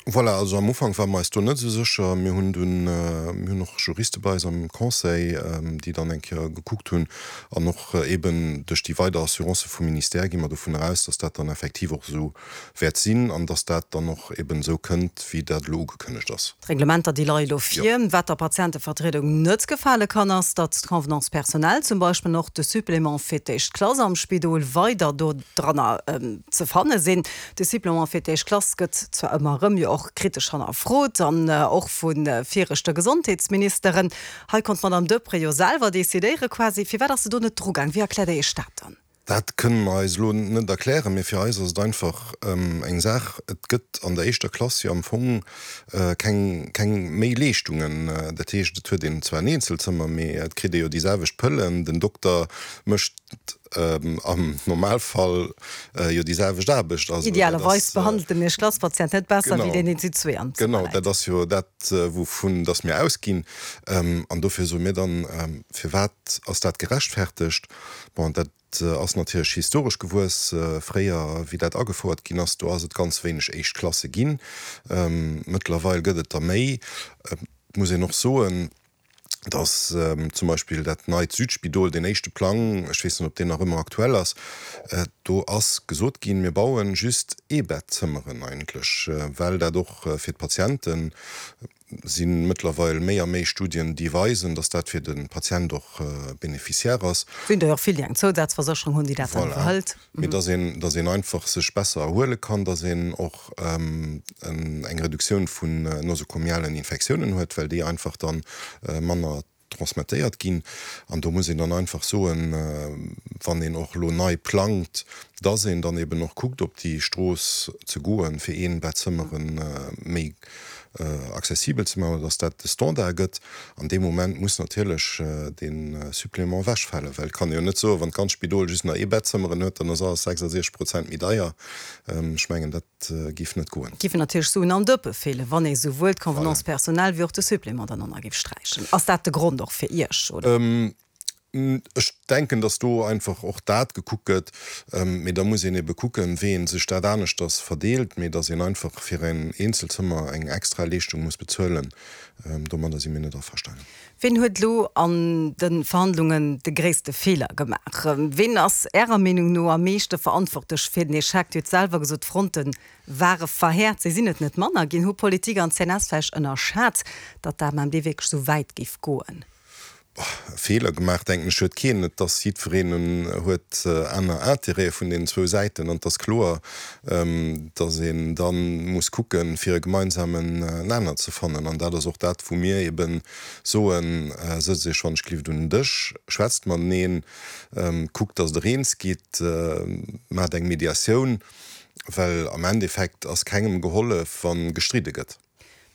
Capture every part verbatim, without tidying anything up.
Voilà, also am Ufank ware mer eis do net esou sécher. Mir hunn dunn, mir hunn och Juriste bei eis am Conseil, déi dann eng Kéier gekuckt hunn an och eeben duerch déi weider Assurancë vum Ministère gi mer dovun eraus, dass dat dann effektiv och esou wäert sinn an dass dat dann och eeben esou kënnt, wéi dat elo ugekënnegt ass. D'Reglementer, déi leie elo vir. Wat der Patientevertriedung net gefale kann, ass, datt d'Convenance personnelle zum Beispill an och de Supplément fir d'éischt Klass am Spidol weider do dranner ze fanne sinn. De Supplément fir d'éischt Klass gëtt zwar ëmmer erëm jo och kritesch hannerfrot an och vu viregte Gesondheetsministeren. Hei konnt d'Madame Deprez jo selwer decidéiere quasi. Firwat ass se do net drugaang? Wéi erkläert Der Iech dat dann? Dat kënne mer eis elo net erklären, mee fir eis ass et einfach eng Saach, et gëtt an der éischter Klass jo am Fong keng, keng méi Leeschtungen. Dat heescht, et huet een zwar en Eenzelzëmmer, mee et kritt ee jo déi selwecht Pëllen, den Dokter mécht am Normalfall jo déi selwecht Aarbecht. Also dat Idealerweis ass. behandelt den Éischt-Klass-Patient net besser wéi deen, deen zu zwee am Zëmmer Genau, läit. dat ass jo dat, wouvun dass mir ausginn. An dofir soe mir dann, Firwat ass dat gerechtfertegt? Bon, dat ass natierlech historesch gewuess. Fréier, wéi dat agefouert ginn ass, do ass et ganz wéineg éischt Klasse ginn. Mëttlerweil gëtt et der méi. Et muss een och soen, dass zum Beispill dat neit Südspidol, deen éischte Plang, ech weess net, ob deen nach ëmmer aktuell ass, do ass gesot ginn, mir bauen just Eebettzëmmeren eigentlech, well dat och fir d'Patienten, si mëttlerweil méi a méi Studien, déi weisen, dass dat fir de Patient och bénéficiaire ass. Sinn der jo och vill, déi eng Zousazversécherung hunn, déi dat dann Voilà. iwwerhëlt. Mee dass een, dass een einfach sech besser erhuele kann, dass een och eng Reduktioun vun nosokomialen Infektiounen huet, well déi einfach dann manner transmettéiert ginn. An do muss een dann einfach soen, wann een och elo nei plangt, dass een dann eben och kuckt, op déi Strooss ze goen, fir Eenbettzëmmere méi accessibel ze maachen, dass dat de Standard gëtt. An dee Moment muss natierlech dee Supplément ewechfalen, well et kann ee jo net soen, wann d'ganz Spidol just nach Eebettzëmmeren huet, dann ass alles sechsasechzeg Prozent méi deier. Ech mengen, dat géif net goen. Et géifen natierlech Suen am Dëppe feelen, wann ee souwuel d'Convenance personnelle wéi och de Supplément dann och nach géif sträichen. Ass dat de Grond och fir Iech, oder? Ech denken, dass do einfach och dat gekuckt gëtt. Mee da muss een ebe kucken, wéi ee sech dat aneschters verdeelt. Mee dass een einfach fir en Eenzelzëmmer eng extra Leeschtung muss bezuelen, domadder si mir net averstanen. Wien huet elo an de Verhandlungen de gréisste Feeler gemaach? Wien ass Ärer Meenung no am meeschte verantwortlech fir den Echec? Dir hutt selwer gesot, d'Fronte ware verhäert, se sinn et net manner ginn. Hu Politik an C N S vläicht ënnerschat, datt d'A M M D wierklech esou wäit géif goen? Feeler gemaach, denken ech, huet keen. Et ass jiddwereen huet aner Intérêtë vun deenen zwou Säiten an et ass kloer, datt een da muss kucken, fir e gemeinsamen Nenner ze fannen. An dat ass och dat, wou mir eebe soen, Sëtzt Iech wann ech gelift un den Dësch, schwätzt mateneen, kuckt, datt Der eens gitt, maacht eng Mediatioun, well am Endeffekt ass kengem gehollef, wa gestridde gëtt.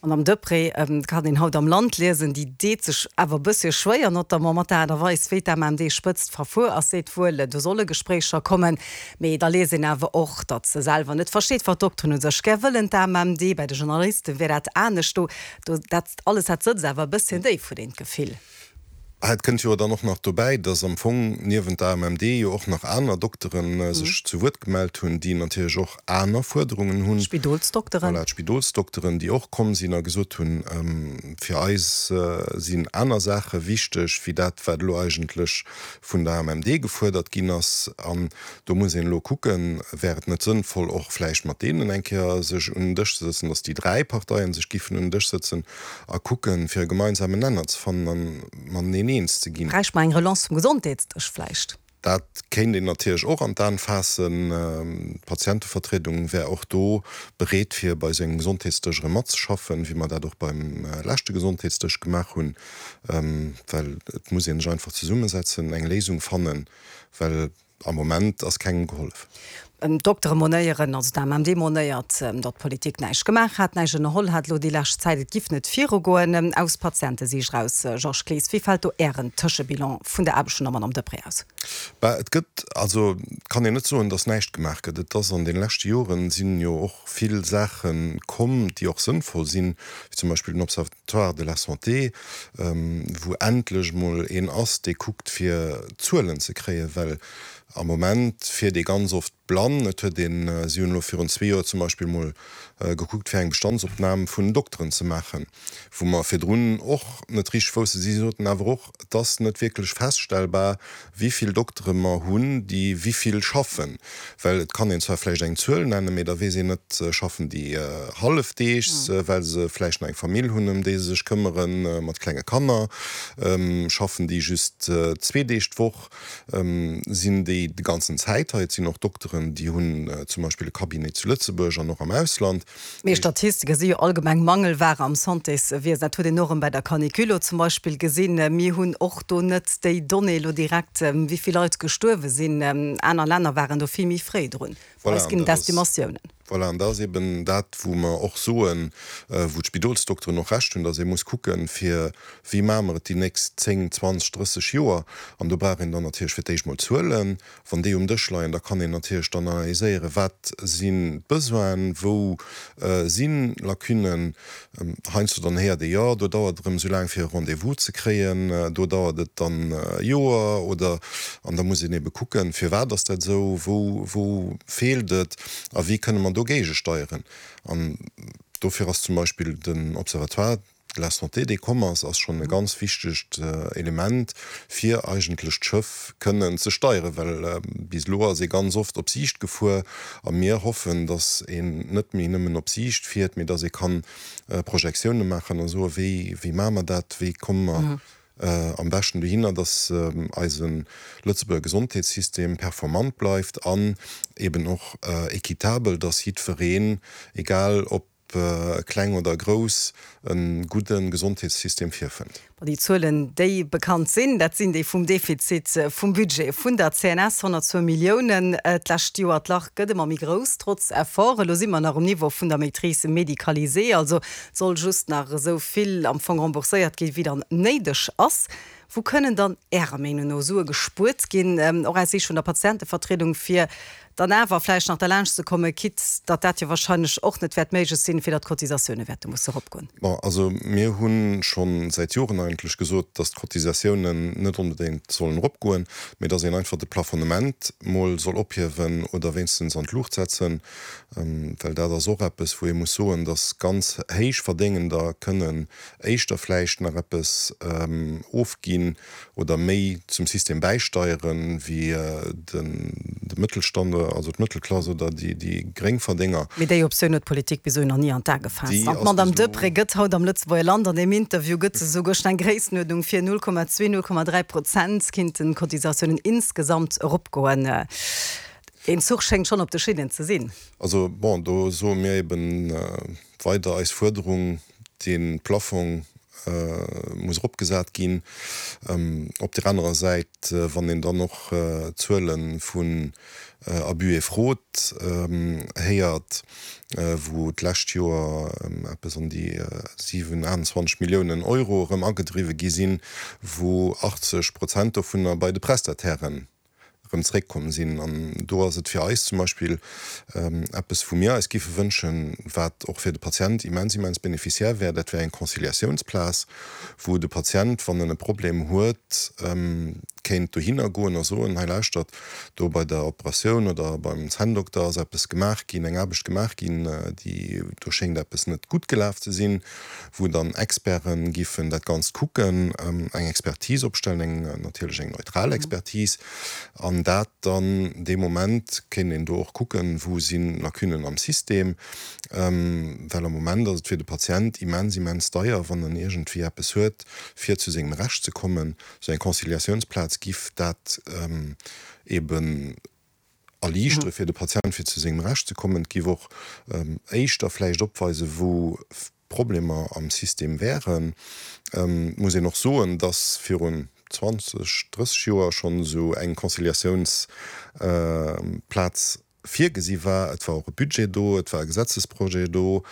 D'Madame Deprez, kann een haut am Land liesen, déi deet sech awer e bëssche schwéier, notamment mat der Aart a Weis, wéi d'M M D-Spëtzt verfuer ass, seet wuel, do solle Gespréicher kommen, mee da liest een awer och, datt se selwer net versteet, wat d'Dokteren u sech gär wëllen, d'A M M D. Bei de Journaliste wier dat anescht. Do, do, dat alles, dat sëtzt awer e bësschen déif, huet een d'Gefill. Et kënnt jo dann och nach dobäi, dass am Fong niewent der A M M D jo och nach aner Dokteren sech zu Wuert gemellt hunn, déi natierlech och aner Fuerderungen hunn. D'Spidolsdokteren. Voilà, d'Spidolsdokteren, déi och komm sinn a gesot hunn, fir eis sinn aner Saache wichteg wéi dat, wat elo eigentlech vun der A M M D gefuerdert ginn ass. An do muss een elo kucken, wär et net sënnvoll, och vläicht mat deenen eng Kéier sech un den Dësch ze sëtzen, dass déi dräi Parteien sech giffen un den Dësch sëtzen a kucken, fir e gemeinsamen Nenner ze fannen a mateneen eens ze ginn. Bräicht mer eng Relance vum Gesondheetsdësch vläicht? Dat kéint een natierlech och an d'An faassen. D'Patientevertriedung wär och do bereet, fir bei esou engem Gesondheetsdësch erëm matzeschaffen, wéi mer dat och beim leschte Gesondheetsdësch gemaach hunn. Well et muss ee sech einfach zesummesetzen, eng Léisung fannen, well am Moment ass kengem gehollef. D'Doktere monéieren, also d'A M M D monéiert, datt d'Politik näischt gemaach hätt, näischt ënnerholl hätt elo déi lescht Zäit, et giff net virugoen. Aus Patientesiicht eraus, Georges Clees, wéi fält do Ären Tëschebilan vun der Aarbecht vun der Madame Deprez aus? Bah, et gëtt, also et kann een net soen, datt näischt gemaach gëtt. Et ass an deene leschte Joren sinn jo och vill Saache komm, déi och sënnvoll sinn, wéi zum Beispill den Observatoire de la santé, wou endlech emol een ass, dee kuckt fir Zuelen ze kréien, well am Moment fiert ee ganz oft blann. Et huet een, si hunn elo virun zwee Joer zum Beispill emol gekuckt fir eng Bestandsopnam vun den Dokteren ze maachen, wou mer virdrun och net richteg wousse. Si soten awer och, et ass net wierklech feststellbar, wéi vill Doktere mer hunn, déi wéi vill schaffen. Well et kann een zwar vläicht eng Zuel nennen, mee da weess een net, schaffen déi hallefdeegs, well se vläicht nach eng Famill hunn, ëm déi se sech këmmeren, mat klenge Kanner, schaffen déi just zwee Deeg d'Woch, sinn déi de ganzen Zäit hei. Et sinn och Dokteren, déi hunn zum Beispill e Cabinet zu Lëtzebuerg an och am Ausland. Mee Statistike si jo allgemeng Mangelware am Santéswiesen. Dat huet een och erëm bei der Canicule elo zum Beispill gesinn. Mir hunn och do net déi Donnée elo direkt, wéi vill Leit gestuerwe sinn. Aner Länner waren do vill méi fréi drun. Bei Voilà, eis an ginn et dat ass, Estimatiounen. voilà, an dat ass eben dat, wou mer och soen, wou d'Spidolsdokteren och Recht hunn, dass ee muss kucken, fir wéi maache mer et déi nächst zéng, zwanzeg, drësseg Joer. An do brauch een dann natierlech fir d'éischt mol Zuelen. Wann déi um Dësch leien, da kann een natierlech dann analyséieren, wat sinn d'Besoinen, wou si Lacunnen. Heiansdo dann héiert ee, jo, do dauert et erëm esou laang, fir e Rendez-vous ze kréien, do dauert et dann e Joer oder, an da muss een ebe kucken, firwat ass dat esou, wou, wou feelt et a wéi kënne mer do géigesteieren. An dofir ass zum Beispill den Observatoire de la santé, dee komm ass, ass schonn e ganz wichtegt Element, fir eigentlech d'Schëff kënnen ze steieren, well bis elo ass ee ganz oft op Siicht gefuer a mir hoffen, datt een net méi nëmmen op Siicht fiert, mee datt ee kann Projektioune maachen a soen, wéi, wéi maache mer dat, wéi komme mer am beschten dohinner, datt eise Lëtzebuerger Gesondheetssystem performant bleift an eben och équitabel, datt jiddwereen, egal ob kleng oder grouss, e gudde Gesondheetssystem virfënnt. Bon, déi Zuelen, déi bekannt sinn, dat sinn déi vum Defizit vum Budget vun der C N S, honnertzwou Milliounen d'lescht Joer. D'Lach gëtt ëmmer méi grouss, trotz Efforten. Elo si mer nach um Niveau vun der Maîtrise médicalisée, also et soll just nach esou vill am Fong rembourséiert ginn, wéi dann néideg ass. Wou kënnen dann Ärer Meenung no Sue gespuert ginn, och aus Siicht vun der Patientevertriedung, fir dann awer vläicht nach derlaanscht ze kommen, quitte datt dat jo wahrscheinlech och net wäert méiglech sinn, fir datt d'Cotisatioune wäerte musse eropgoen? Bon, also mir hu scho säit Joren eigentlech gesot, datt d'Cotisatiounen net onbedéngt sollen eropgoen, mee datt een einfach de Plafonnement mol soll ophiewen oder wéinstens an d'Luucht setzen, well dat ass och eppes, wou ee muss soen, datt ganz Héichverdéngender kënnen éischter vläicht nach eppes ofginn oder méi zum System bäisteieren, wéi de Mëttelstand, also d'Mëttelklass oder déi Gréngverdénger. Mee déi Optioun huet d'Politik bis elo nach ni an d'A gefaasst. Déi An ass d'Madame bis elo. Deprez gëtt haut am Lëtzebuerger Land an deem Interview gëtt se esouguer schon eng Gréissenuerdnung vir, null Komma zwee, null Komma dräi Prozent kinnten d'Cotisatiounen insgesamt eropgoen. Deen Zuch schéngt schonn op de Schinnen ze sinn. Also, bon, do soe mir eben weider eis Fuerderung, dee Plafong muss eropgesat ginn. Op där anerer Säit, wann een dann och Zuele vun Abus et fraude héiert, wou d'lescht Joer eppes an déi siwen, aachtundzwanzeg Milliounen Euro erëm agedriwwe gi sinn, wou achtzeg Prozent dovunner bei de Prestatairen erëm zréckkomm sinn. An do ass et fir eis zum Beispill eppes, wou mir eis géife wënschen, wat och fir de Patient immens, immens bénéficiaire wär, dat wär eng Conciliatiounsplaz, wou de Patient, wann en e Problem huet, kéint dohinner goen a soen, hei lauschtert, do bei der Operatioun oder beim Zänndokter ass eppes gemaach ginn, eng Aarbecht gemaach ginn, déi, do schéngt eppes net gutt gelaf ze sinn, wou dann Experte giffen dat Ganzt kucken, eng Expertise opstellen, eng natierlech eng neutral Expertise, an dat dann dee Moment kéint een do och kucken, wou si Lacunnen am System, well am Moment ass et fir de Patient immens, immens deier, wann en iergendwéi eppes huet, fir zu sengem Recht ze kommen. Esou eng Conciliatiounsplaz giff dat eben erliichtere fir de Patient, fir zu sengem Recht ze kommen. Et giff och éischter vläicht opweisen, wou Problemer am System wären. Et muss een och soen, dass virun zwanzeg, drësseg Joer schonn esou eng Conciliatiounsplaz virgesi war. Et war och e Budget do, et war e Gesetzesprojet do,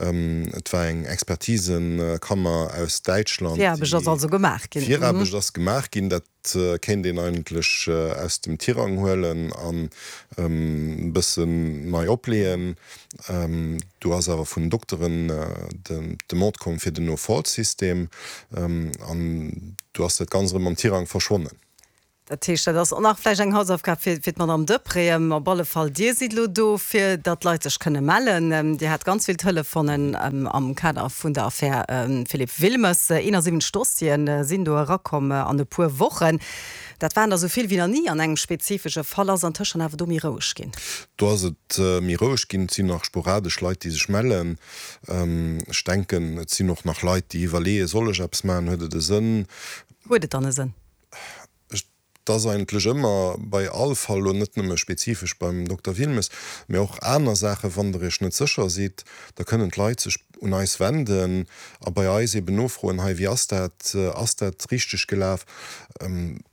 et war eng Expertisekammer aus Däitschland, Viraarbecht ass déi. also gemaach ginn. Viraarbecht ass gemaach ginn. Dat kéint een eigentlech aus dem Tirang huelen an e bëssen nei opleeën. Do ass awer vun den Dokteren d'Demande komm fir den No-Fault-System an do ass dat Ganzt erëm am Tirang verschwonnen. Dat heescht, dat ass och nach vläicht eng Hausaufgab fir d'Madame Deprez. Op alle Fall, Dir sidd elo do, fir datt d'Leit sech kënne mellen. Dir hat ganz vill Telefonen am Kader vun der Affär Philippe Wilmes. eenasiwwenzeg Dossiere sinn do erakomm an e puer Wochen. Dat waren der esou vill wéi nach ni an engem spezifesche Fall. Ass antëscht dann awer do méi roueg ginn? Do ass et méi roueg ginn. Et sinn nach sporadesch Leit, déi sech mellen. Ech denken, et sinn och nach Leit, déi iwwerleeën, Soll ech eppes maachen? Huet et e Sënn? Huet et dann e Sënn? Et ass eigentlech ëmmer bei all Fall, elo net nëmme spezifesch beim Dokter Wilmes, mä och aner Saachen, wann Der Iech net sécher sidd, da kënnen d'Leit sech un eis wenden a bei eis eben nofroen, hei, wéi ass dat, ass dat richteg gelaf?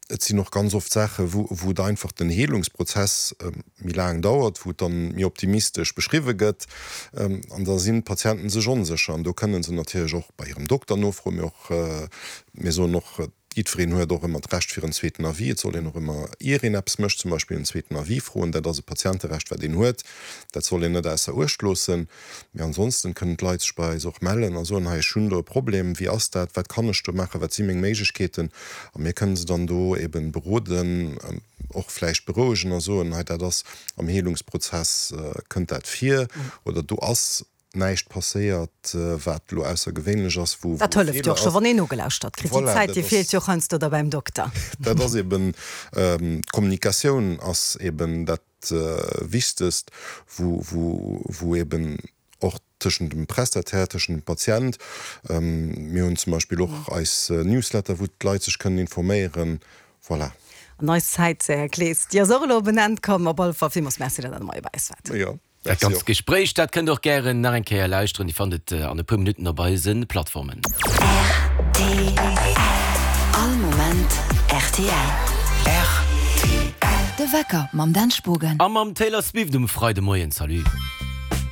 Et sinn och ganz oft Saachen, wou wou et einfach den Heelungsprozess méi laang dauert, wou et dann méi optimistesch beschriwwe gëtt an da sinn d'Patienten sech onsécher an do kënnen se natierlech och bei hirem Dokter nofroen, mee och, mir soen och, Jiddwereen huet och ëmmer d'Recht fir en zweeten Avis. Et soll een och ëmmer, ier een eppes mécht, zum Beispill en zweeten Avis froen. Dat ass e Patienterecht, wat een huet. Dat soll een net ausser Uecht loossen. Mee ansonsten kënnen d'Leit sech bei eis och mellen a soen, hei ech hunn do e Problem, wéi ass dat, wat kann ech do maachen, wat si meng Méiglechkeeten? A mir kënnen se dann do eeben beroden, och vläicht berouegen a soen, hei dat ass am Heelungsprozess kënnt dat vir oder do ass näischt passéiert, wat elo aussergewéinlech ass, wou Dat hëlleft jo och scho, wann een nogelauschtert kritt. Déi Zäit, déi feelt jo och heiansdo da beim Dokter. Dat ass eben, d'Kommunikatioun ass eben dat Wichtegst, wou, wou, wou eben och tëschent dem Prestataire, tëschent dem Patient, mir hunn zum Beispill och eis Newsletter, wou d'Leit sech kënnen informéieren, voilà. An eis Zäit, Här Clees, déi ass och elo op en Enn komm. Op alle Fall villmools Merci, datt Der mat bei eis waart. Jo. Dat ganzt Gespréich, dat kënnt der och gären nach eng Kéier lauschteren. Dir fannt et an e puer Minutten op eise Plattformen. Rtl, All Moment rtl. Rtl. De Wecker mam Dan Spogen. A mam Taylor Swift um Freidemoien. Salut.